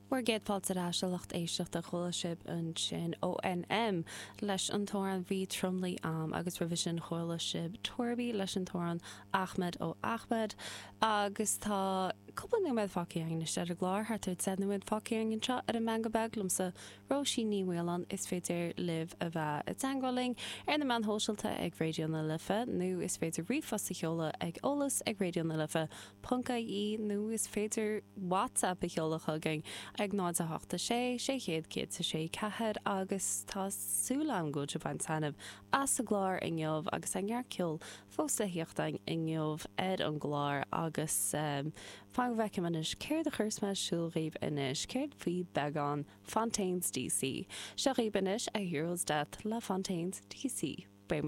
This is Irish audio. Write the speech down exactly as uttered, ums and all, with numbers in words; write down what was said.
Bhur gcéad fáilte ar ais a lucht éisteachta chuala sibh ansin ONM leis an t-amhrán Bhí Tromluí A'm agus roimhe sin chuala sibh Torby leis an t-amhrán Ahmed ó Ahmed agus tá cúpla nóiméad fágtha againn anois ar an gclár thart ar deich nóiméad fágtha againn anseo ar an Meangadh Beag liomsa Róisín Ní Mhaoláin is féidir libh a bheith i dteagmháil linn ar na meáin shóisialta ag Raidió na Life nó is féidir ríomhphost a sheoladh ag eolas ag Raidió na Life ponc ie nó is féidir WhatsApp a sheoladh chugainn ag náid a hocht a sé sé chéad céad a sé ceathair agus tá súil agam go bhfuil sibh ag baint taitneamh as an gclár inniu agus an neart ceoil fós le theacht inniu ar an gclár agus um, fan go bhfeicim anois céard a chuirfeas mé ar siúl dhaoibh anois céard faoi beagán Fontaines DC. Seo dhaoibh anois a Hero's Death le Fontaines DC. Beidh muid